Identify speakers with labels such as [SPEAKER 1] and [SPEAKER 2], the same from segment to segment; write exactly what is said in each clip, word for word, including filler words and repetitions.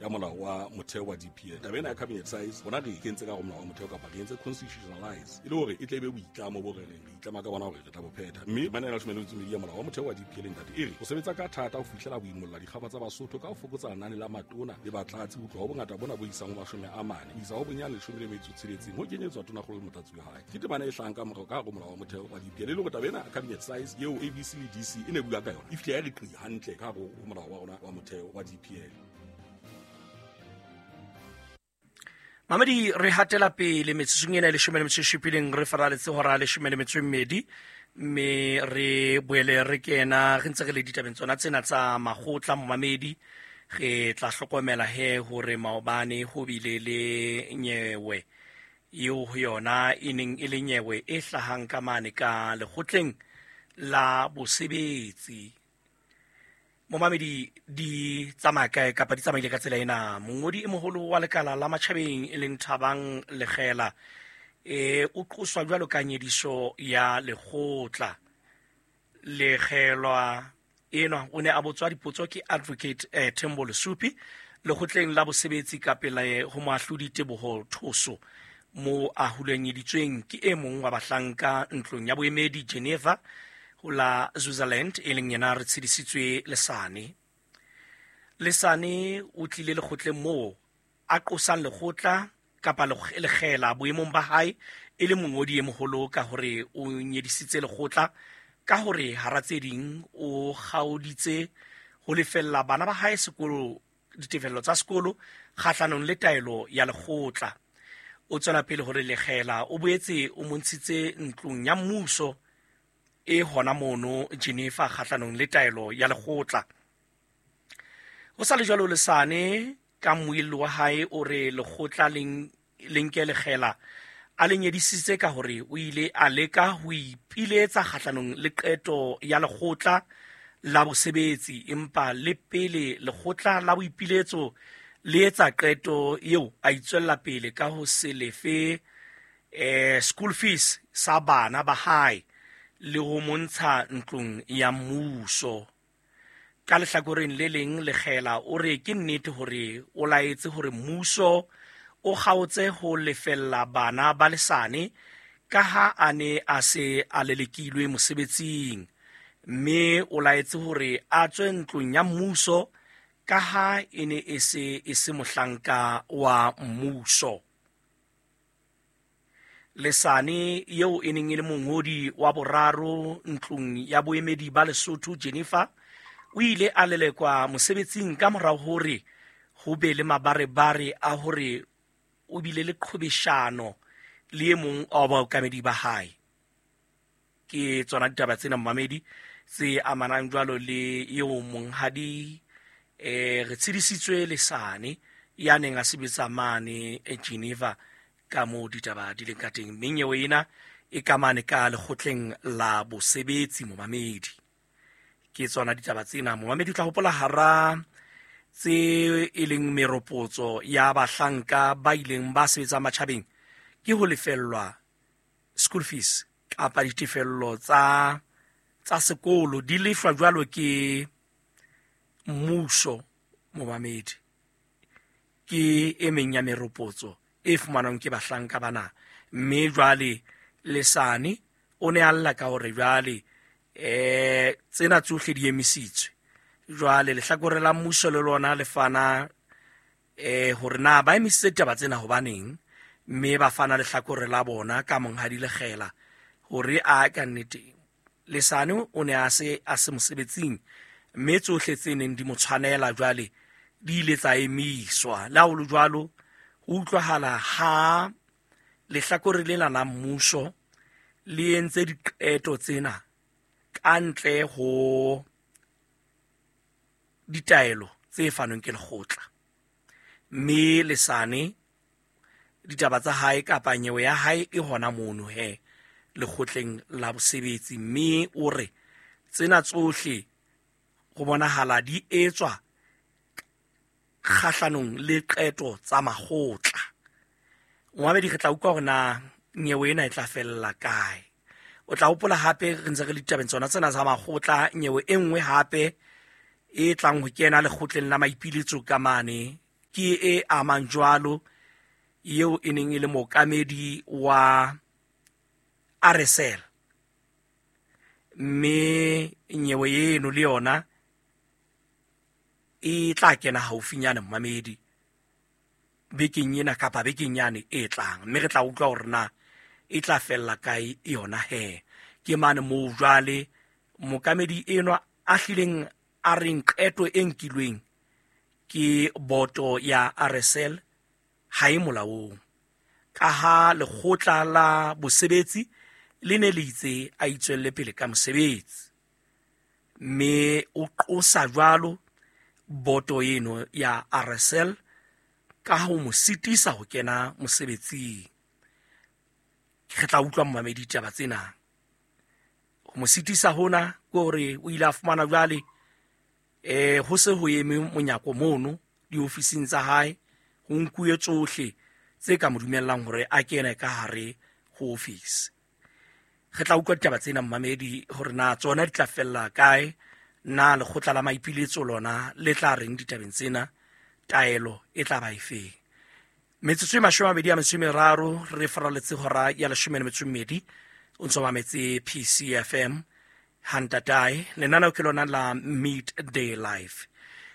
[SPEAKER 1] ya molao wa motheo wa D P L. Taba ena ya cabinet size rona re e kentse ka hare ho molao wa motheo kapa re entse constitutionalize e le hore e tle be boitlamo bo re reng re itlama ka bona hore re tla bo phetha. Mme temana ya leshome le metso e mmedi ya molao wa motheo wa D P L ntate e re ho sebetsa ka thata ho fihlela boimolla dikgaba tsa Basotho ka ho fokotsa lenane la matona le batlatsi ho tloha ho bongata bona bo isang ho mashome a mane ho isa ho bonyane leshome le metso e tsheletseng ho kenyetswa tonakgolo le motlatsi wa hae. Ke temana e hlahang ka morao ka hare ho molao wa motheo wa D P L e le hore taba ena cabinet size eo A B C le D C e ne bua ka yona e fihle ya re qi hantle ka hare ho molao wa rona wa motheo wa D P L.
[SPEAKER 2] Mamedi, re hatela pele metsotsong ena e leshome le metso e supileng, re faraletse hora ya leshome le metso e mmedi, mme re boele re kena re ntse re le ditabeng tsona tsena tsa makgotla. Momamedi, re tla hlokomela he hore maobane ho bile le nyewe eo ho yona e neng e le nyewe e hlahang ka mane ka lekgotleng la bosebetsi. Momamedi, di tsamaya kae kapa di tsamaile ka tsela ena? Mongodi e moholo wa lekala la matjhabeng e leng Thabang Lekgela e o qoswa jwalo ka nyediso ya lekgotla. Lekgelwa enwa o ne a botswa dipotso ke Advocate eh, Thembo Lesupi lekgotleng la bosebetsi ka pele ho moahlodi Teboho Thoso, mo a hulanyeditsweng ke e mong wa bahlanka ntlong ya boemedi Geneva ho la Switzerland, e leng yena re tshedisitswe Lesane. Lesane o tlile lekgotleng moo a qosang lekgotla kapa lekgela boemong ba hae e le mongodi e moholo ka hore o nyedisitse lekgotla ka hore hara tse ding o kgaoditse ho lefella bana ba hae sekolo ditefello tsa sekolo kgahlanong le taelo ya lekgotla. O tswela pele hore lekgela o boetse o montshitse ntlong ya mmuso e hona mono Geneva kgahlanong le taelo ya lekgotla. Ho sa le jwalo, Lesane ka mmuelli wa hae o re lekgotla le nke lekgela a le nyedisitse ka hore o ile a leka ho ipiletsa kgahlanong le qeto ya lekgotla la bosebetsi, empa le pele lekgotla la boipiletso le etsa qeto eo a itswella pele ka ho se lefe eh, school fees sa bana ba hae le ho montsha ntlong ya mmuso. Ka lehlakoreng le leng, lekgela o re ke nnete hore o laetse hore mmuso o kgaotse ho lefella bana ba Lesane ka ha a ne a se a lelekilwe mosebetsing, mme o laetse hore a tswe ntlong ya mmuso ka ha e ne e se e se mohlanka wa mmuso. Lesane eo e neng e le mongodi wa boraro ntlong ya boemedi ba Lesotho Geneva o ile a lelekwa mosebetsing ka morao hore ho be le mabarebare a hore o bile le qhobeshano le e mong wa baokamedi ba hae. Ke tsona ditaba tsena momamedi tse amanang jwalo le eo monghadi eh re tshedisitswe Lesane ya neng a sebetsa mane Geneva ka moo ditaba di leng ka teng. Mme nyewe ena e ka mane ka lekgotleng la bosebetsi momamedi. Ke tsona ditaba tsena momamedi. O tla hopola hara tse e leng meropotso ya bahlanka ba ileng ba sebetsa matjhabeng ke ho lefellwa school fees kapa ditefello tsa tsa sekolo di lefwa jwalo ke mmuso momamedi. Ke e meng ya meropotso e fumanwang ke bahlanka bana. Mme jwale Lesane o ne a lla ka hore jwale eh tsena tsohle di emisitswe. Jwale lehlakore la mmuso le lona le fana eh hore na ba emisitse taba tsena hobaneng, mme ba fana lehlakore la bona ka monghadi Lekgela hore a ka nnete Lesane o ne a se a se mosebetsing, mme tsohle tse neng di mo tshwanela jwale di ile tsa emiswa. Le ha ho le jwalo, ho utlwahala ha lehlakore lena la mmuso le entse diqeto tsena ka ntle ho ditaelo tse fanweng ke lekgotla. Mme Lesane ditaba tsa hae kapa nyewe ya hae e hona mono he lekgotleng la bosebetsi, mme o re tsena tsohle ho bonahala di etswa kgahlanong le qeto tsa makgotla. Momamedi, re tla utlwa hore na nyewe ena e tla fella kae. O tla hopola hape re ntse re le ditabeng tsona tsena tsa makgotla, nyewe e nngwe hape e tlang ho kena lekgotleng la maipiletso ka mane ke e amang jwalo eo e neng e le mookamedi wa R S L, mme nyewe eno le yona e tla kena haufinyane momamedi bekeng ena kapa bekeng yane e tlang, mme re tla utlwa hore na e tla fella kae yona he. Ke mane moo jwale mookamedi enwa a hlileng a reng qeto e nkilweng ke boto ya R S L ha e molaong, ka ha lekgotla la bosebetsi le ne le itse a itswelle pele ka mosebetsi, mme o qosa jwalo boto eno ya R S L ka ho mo sitisa ho kena mosebetsing. Re tla utlwa momamedi ditaba tsena. Ho mo sitisa hona ke hore o ile a fumana jwale eh ho se ho eme monyako mono diofising tsa hae, ho nkuwe tsohle tse ka mo dumellang hore a kene ka hare ho office. Re tla utlwa ditaba tsena momamedi hore na tsona di tla fella kae, na lekgotla la maipiletso lona le tla reng ditabeng tsena, taelo e tla ba efeng. Metsotso e mashome a mabedi a metso e meraro re faraletse hora ya leshome le metso e mmedi, o ntso mametse P C F M hantatae, lenaneo ke lona la Midday Life.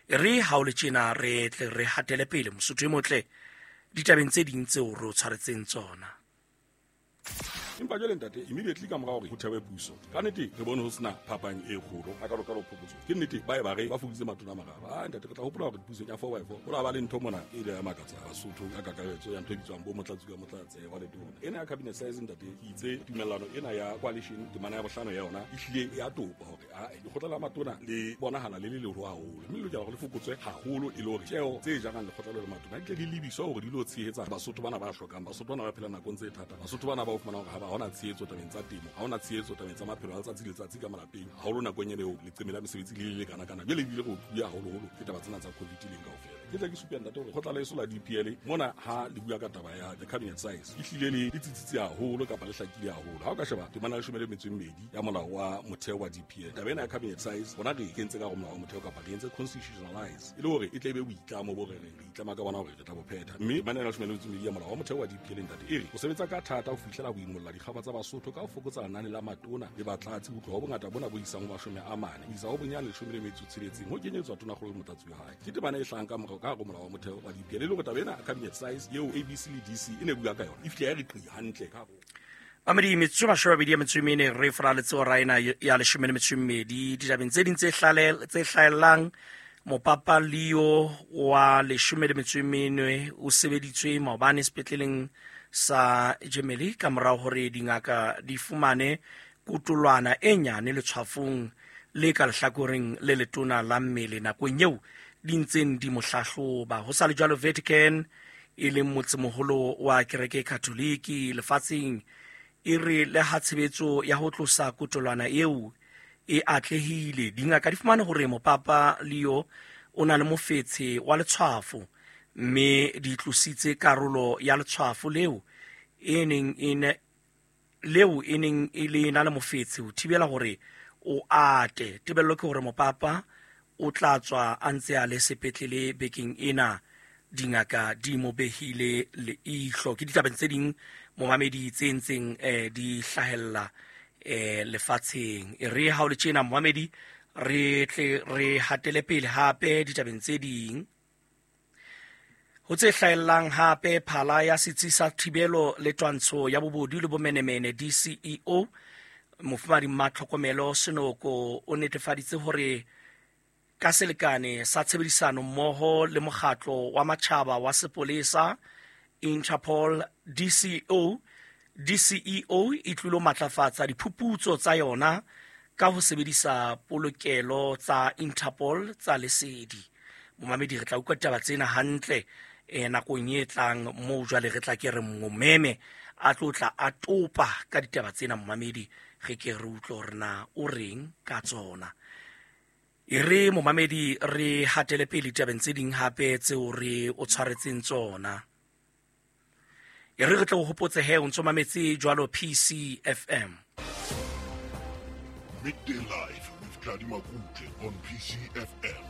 [SPEAKER 2] Re ha o le tjena re tle re hatele pele mosotho e motle ditabeng tse ding tseo re o tshwaretseng tsona.
[SPEAKER 1] Empa jwale ntate, immediately ka mora hore ho thewe puso, ka nnete re bone ho sena phapang e kgolo a ka ka phokotso. Ke nnete ba e ba re ba fokoditse matona a mararo. Ah ntate, re tla hopola hore pusong ya four by four ho la ba le ntho mona e ile ya makatsa Basotho ka kakaretso ya ntho e bitswang bo motlatsi ka motlatse wa letona. Ena ya cabinet size ntate, ke itse tumellano ena ya coalition temana ya bohlano ya yona e hlile ya topa hore ah lekgotla la matona le bonahala le le leholo haholo, mme le lokela hore le fokotswe haholo e le hore tjeo tse jarang lekgotla le matona di tle di lebiswe hore di lo tshehetsa Basotho bana ba hlokang, Basotho bana ba phelang nakong tse thata, Basotho bana ba fumana hore ha ba hona tshehetso tabeng tsa temo, ha hona tshehetso tabeng tsa maphelo a letsatsi le letsatsi ka malapeng, haholo nakong ena eo leqeme la mesebetsi le le kana kana. Jwale ebile re otluwe haholoholo ke taba tsena tsa COVID leng kaofela. Ke tla ke supe ntate hore kgotla la eso la D P L mona ha le bua ka taba ya the cabinet size e hlile le le tsitsitse haholo kapa le hlakile haholo. Ha o ka sheba temana ya leshome le metso e mmedi ya molao wa motheo wa D P L, taba ena ya cabinet size rona re kentse ka hare ho molao wa motheo kapa re entse constitutionalize e le hore e tle e be boitlamo bo re reng re itlama ka bona hore re tla bo phetha. Mme temana ya leshome le metso e mmedi ya molao wa motheo wa D P L ntate e re o sebetsa ka thata ho fihlela ho imolla dikgaba tsa Basotho ka ho fokotsa lenane la matona le batlatsi ho tloha ho bongata bona bo isang ho mashome a mane ho isa ho bonyane leshome le metso e tsheletseng ho kenyetswa tonakgolo le motlatsi wa hae. Ke temana e hlahang ka morao ka hare ho molao wa motheo wa D P L e le hore taba ena cabinet size eo A B C le D C e ne bua ka yona e fihle ya re qi hantle ka hare.
[SPEAKER 2] Mamedi, metsotso e mashome a mabedi a metso e mene re faraletse hora ena ya leshome le metso e mmedi. Ditabeng tse ding tse tse hlahellang, mopapa Leo wa leshome le metso e mene o sebeditswe maobane sepetleleng sa Gemelli ka morao hore dingaka di fumane kotolwana e nyane letshwafong le ka lehlakoreng le letona la mmele nakong eo di ntseng di mo hlahloba. Ho sa le jwalo, Vatican e leng motsemoholo wa kereke e Katoliki lefatsheng e re le ha tshebetso ya ho tlosa kotolwana eo e atlehile, dingaka di fumane hore mopapa Leo o na le mofetshe wa letshwafo, mme di tlositse karolo ya letshwafo leo e neng e ne leo e neng e le na le mofetshe ho thibela hore o ate. Tebello ke hore mopapa o tla tswa a ntse a le sepetlele bekeng ena, dingaka di mo behile leihlo. Ke ditabeng tse ding momamedi tse ntseng eh, di hlahella eh, lefatsheng. E re ha o le tjena momamedi, re tle re hatele pele hape ditabeng tse ding. Ho tse hlahellang hape, phala ya setsi sa thibelo le twantsho ya bobodu le bomenemene D C E O Mofumahadi Mmatlhokomelo Senoko o netefaditse hore ka selekane sa tshebedisano mmoho le mokgatlo wa matjhaba wa sepolesa Interpol, D C O D C E O e tlilo matlafatsa diphuputso tsa yona ka ho sebedisa polokelo tsa Interpol tsa lesedi. Momamedi, re tla utlwa ditaba tsena hantle eh nakong e tlang moo jwale re tla ke re momeme a tlo tla a topa ka ditaba tsena. Momamedi, re ke re utlwe hore na o reng ka tsona. E re momamedi re hatele pele ditabeng tse ding hape tseo re o tshwaretseng tsona. E re re tle o hopotse he o ntso mametse jwalo P C F M.
[SPEAKER 3] Midday Live with Tladi Makutle on P C F M.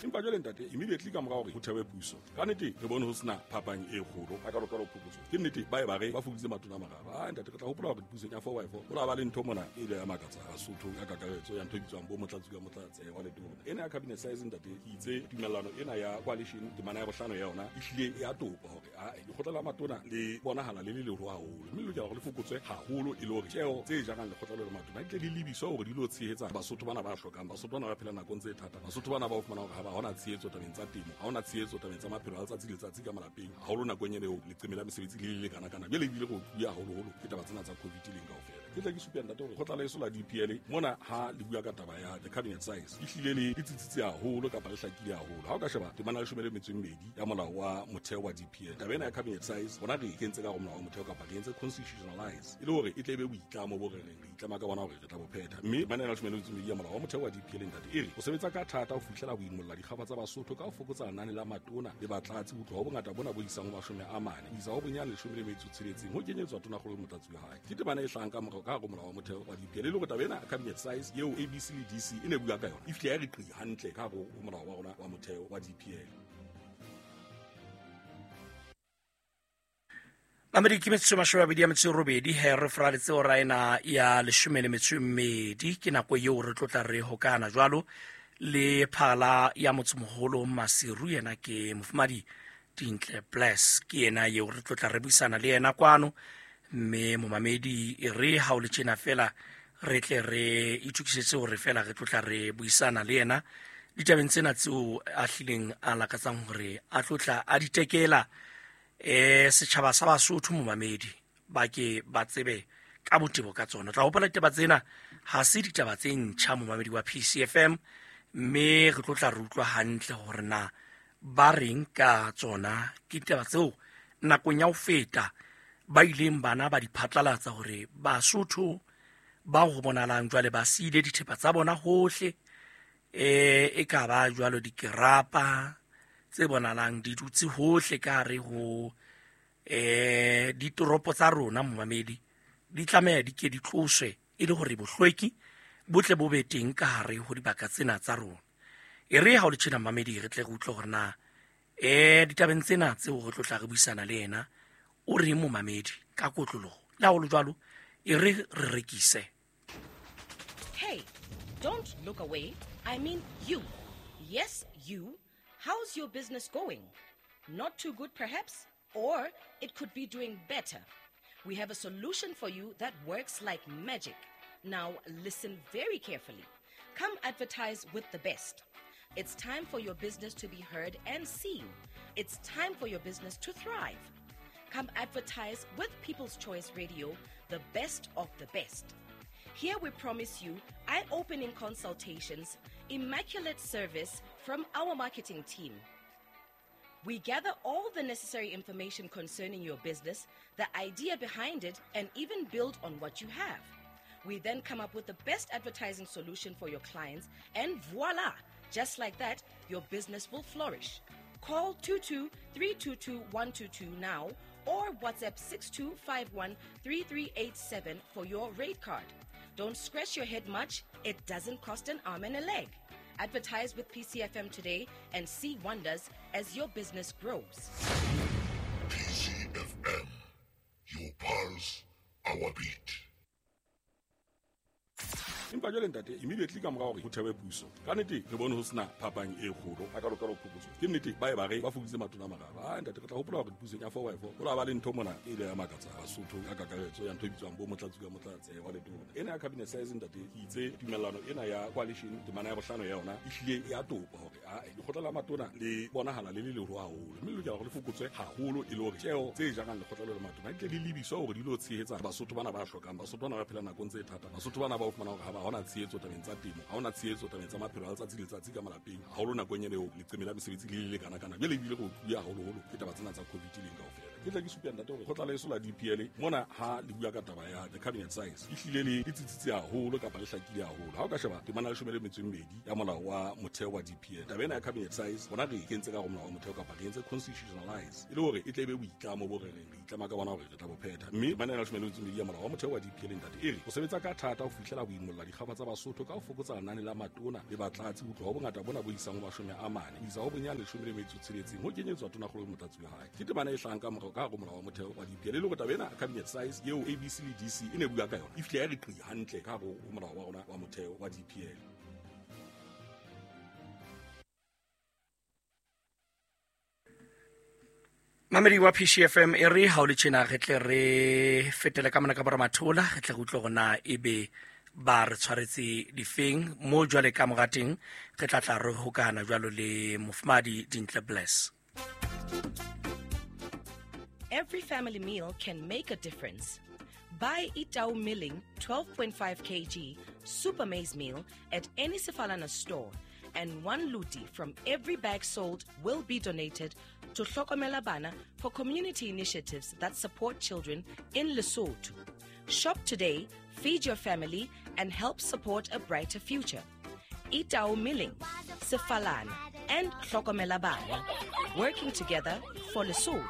[SPEAKER 1] Empa jwale ntate, immediately ka mora hore ho thewe puso, ka nnete re bone ho sena phapang e kgolo a kalokalo phokotso. Ke nnete ba e ba re ba fokoditse matona a mararo. Ah ntate, re tla hopola hore pusong ya four by four ho la ba le ntho mona e ile ya makatsa Basotho ka kakaretso ya ntho e bitswang bo motlatsi ka motlatse wa letona. Ena ya cabinet size ntate, ke itse tumellano ena ya coalition temana ya bohlano ya yona e hlile ya topa hore a lekgotla la matona le bonahala le le leholo haholo, mme le lokela hore le fokotswe haholo e le hore tjeo tse jarang lekgotla le matona di tle di lebiswe hore di lo tshehetsa Basotho bana ba hlokang, Basotho bana ba phela nakong tse thata, Basotho bana ba o fumana hore ha ba hona tshehetso tabeng tsa temo, ha hona tshehetso tabeng tsa maphelo a letsatsi le letsatsi ka malapeng, haholo nakong ena eo leqeme la mesebetsi le le lekana-kana. Jwale ebile re otluwe haholoholo ke taba tsena tsa COVID leng kaofela. Ke tla ke supe ntate hore lekgotla leso la D P L mona ha le bua ka taba ya the cabinet size e hlile le le tsitsitse haholo kapa le hlakile haholo. Ha o ka sheba temana ya leshome le metso e mmedi ya molao wa motheo wa D P L, taba ena ya cabinet size rona re e kentse ka hare ho molao wa motheo kapa re entse constitutionalize e le hore e tle e be boitlamo bo re reng re itlama ka bona hore re tla bo phetha. Mme temana ya leshome le metso e mmedi ya molao wa motheo wa D P L ntate e re o sebetsa ka thata ho fihlela ho imolla dikgafa tsa Basotho ka ho fokotsa lenane la matona le batlatsi ho tloha ho bongata bona bo isang ho mashome a mane ho isa ho bonyane leshome le metso e tsheletseng ho kenyetswa tonakgolo le motlatsi wa hae. Ke temana e hlahang ka morao ka hare ho molao wa motheo wa D P L e le hore taba ena cabinet size eo A B C le D C e ne bua ka yona e fihle ya re qi hantle ka hare ho molao wa rona wa motheo wa D P L.
[SPEAKER 2] Mamedi ke metsotso e mashome a mabedi a metso e robedi he re fraletse hora ena ya leshome le metso e mmedi. Ke nako eo re tlotla re hokana jwalo le phala ya motsemoholo Maseru, yena ke mofumadi Dintle Bless, ke yena eo re tlotla re buisana le yena kwano. Mme momamedi e re ha o le tjena fela re tle re itokisetse hore fela re tlotla re buisana le yena ditabeng tsena tseo a hlileng a lakatsang hore a tlotla a di tekela eh setjhaba sa Basotho. Momamedi ba ke ba tsebe ka botebo ka tsona. Tla hopola ditaba tsena ha se ditaba tse ntjha momamedi wa P C F M, mme re tlotla re utlwa hantle hore na ba reng ka tsona. Ke ditaba tseo nakong ya ho feta ba ileng bana ba di phatlalatsa hore Basotho ba ho bonalang jwale ba siile dithepa tsa bona hohle, eh e ka ba jwalo dikerapa tse bonalang di dutse hohle ka hare ho eh ditoropo tsa rona. Momamedi di tlameha di ke di tloswe e le hore bohlweki bo tle bo be teng ka hare ho dibaka tsena tsa rona. E re ha o le tjena mamedi re tle re utlwe hore na eh ditabeng tsena tseo re tlotla re buisana le yena o re momamedi ka kotloloho le haholo jwalo e re re rekise.
[SPEAKER 3] Hey, don't look away. I mean you. Yes, you. How's your business going? Not too good perhaps, or it could be doing better. We have a solution for you that works like magic. Now listen very carefully. Come advertise with the best. It's time for your business to be heard and seen. It's time for your business to thrive. Come advertise with People's Choice Radio, the best of the best. Here we promise you eye-opening consultations, immaculate service from our marketing team. We gather all the necessary information concerning your business, the idea behind it, and even build on what you have. We then come up with the best advertising solution for your clients, and voila! Just like that, your business will flourish. Call two two three two two one two two now or WhatsApp six two five one three three eight seven for your rate card. Don't scratch your head much. It doesn't cost an arm and a leg. Advertise with P C F M today and see wonders as your business grows.
[SPEAKER 4] P C F M, your pulse, our beat.
[SPEAKER 1] Empa jwale ntate, immediately ka mora hore ho thewe puso, ka nnete re bone ho sena phapang e kgolo a kalokalo phokotso. Ke nnete ba e ba re ba fokoditse matona a mararo. Ah ntate, re tla hopola hore pusong ya four by four ho la ba le ntho mona e ile ya makatsa Basotho ka kakaretso ya ntho e bitswang bo motlatsi ka motlatse wa letona. Ena ya cabinet size ntate, ke itse tumellano ena ya coalition temana ya bohlano ya yona e hlile ya topa hore a lekgotla la matona le bonahala le le leholo haholo, mme le lokela hore le fokotswe haholo e le hore tjeo tse jarang lekgotla le matona di tle di lebiswe hore di lo tshehetsa Basotho bana ba hlokang, Basotho bana ba phela nakong tse thata, Basotho bana ba o fumana hore ha ba hona tshehetso tabeng tsa temo, ha hona tshehetso tabeng tsa maphelo a letsatsi le letsatsi ka malapeng, haholo nakong ena eo leqeme la mesebetsi le le lekana-kana. Jwale ebile re otluwe haholoholo ke taba tsena tsa COVID leng kaofela. Ke tla ke supe ntate hore kgotla leso la D P L mona ha le bua ka taba ya the cabinet size e hlile le le tsitsitse haholo kapa le hlakile haholo. Ha o ka sheba temana ya leshome le metso e mmedi ya molao wa motheo wa D P L, taba ena ya cabinet size bona re e kentse ka hare ho molao wa motheo kapa re entse constitutionalize e le hore e tle e be boitlamo bo re reng re itlama ka bona hore re tla bo phetha. Mme temana ya leshome le metso e mmedi ya molao wa motheo wa D P L ntate e re o sebetsa ka thata ho fihlela ho imolla dikgaba tsa Basotho ka ho fokotsa lenane la matona le batlatsi ho tloha ho bongata bona bo isang ho mashome a mane ho isa ho bonyane leshome le metso e tsheletseng ho kenyetswa tonakgolo le motlatsi wa hae. Ke temana e hlahang ka morao ka hare ho molao wa motheo wa D P L e le hore taba ena cabinet size eo A B C le D C e ne bua ka yona e fihle ya re qi hantle ka hare ho molao wa rona wa motheo wa D P L.
[SPEAKER 2] Mamedi wa P C F M e re ha o le tjena re tle re fetele ka mona ka boramathola, re tle re utlwe hore na ebe ba re tshwaretse difeng mo jwale ka mora teng re tla tla re hokahana jwalo le Mofumahadi Dintle Bless.
[SPEAKER 3] Every family meal can make a difference. Buy Itau Milling twelve point five kilograms Super Maize Meal at any Sefalana store, and one luti from every bag sold will be donated to Hlokomela Bana for community initiatives that support children in Lesotho. Shop today, feed your family, and help support a brighter future. Itau Milling, Sefalana, and Hlokomela Bana, working together for Lesotho.